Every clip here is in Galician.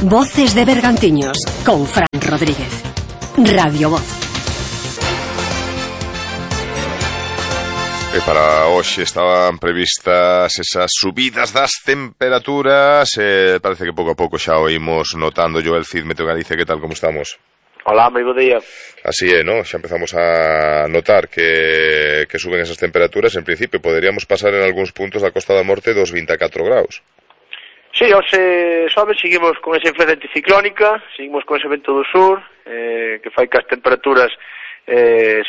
Voces de Bergantiños con Fran Rodríguez. Radio Voz. E para hoxe estaban previstas esas subidas das temperaturas. Parece que pouco a pouco xa o imos notando. Joel Cid, Meteo Galicia, que tal, como estamos? Hola, moi bo día. Así é, ¿no? Xa empezamos a notar que suben esas temperaturas. En principio, poderíamos pasar en algúns puntos da Costa da Morte dos 24 graus. Sí, hoxe sobe, seguimos con esa influencia anticiclónica, seguimos con ese vento do sur, que fai que as temperaturas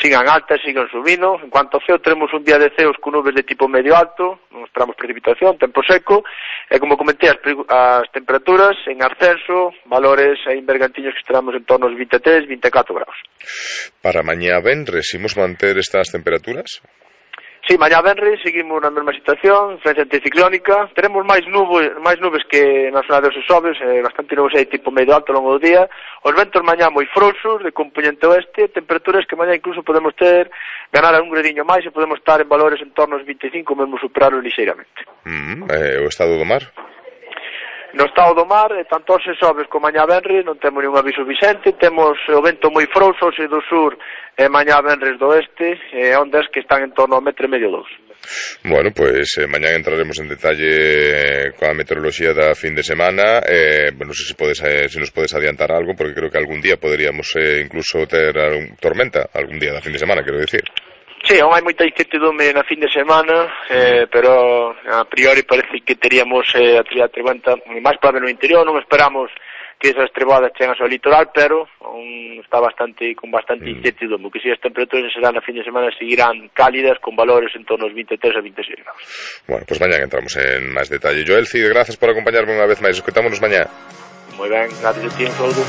sigan altas, sigan subindo. En cuanto ao ceo, tenemos un día de ceos con nubes de tipo medio alto, non esperamos precipitación, tempo seco, e como comentei, as temperaturas en ascenso, valores en Bergantiños que estaremos en torno aos 23, 24 graus. Para mañá venres, imos manter estas temperaturas? Sí, mañá venres seguimos na mesma situación, influencia anticiclónica, teremos máis nubes que na zona dos Soves, bastante nubes aí tipo medio alto ao longo do día, os ventos mañá moi frouxos, de componente oeste, temperaturas que mañá incluso podemos ganar un gradiño máis e podemos estar en valores en torno aos 25, mesmo superarlos ligeiramente. O estado do mar? No estado do mar, tanto os Soves como mañá venres, non temos ningún aviso vixente, temos o vento moi frouxo, do sur e mañá venres do oeste, ondas que están en torno ao 1,5 m. Bueno, pues mañá entraremos en detalle coa meteoroloxía da fin de semana. Non sei se nos podes adiantar algo, porque creo que algún día poderíamos incluso ter tormenta, algún día da fin de semana, quero dicir. Sí, aún hai moita incertidumbre na fin de semana, pero a priori parece que teríamos a tormenta máis probable no interior. Non esperamos que esas trebadas chegan ao litoral, pero aún está con bastante incertidumbre, que si as temperaturas serán na fin de semana seguirán cálidas con valores en torno aos 23 a 26 graus. Bueno, pues mañá entramos en máis detalle. Joel Cid, gracias por acompañarme unha vez máis. Escoitámonos mañá. Moi ben, gracias a ti, un saúdo.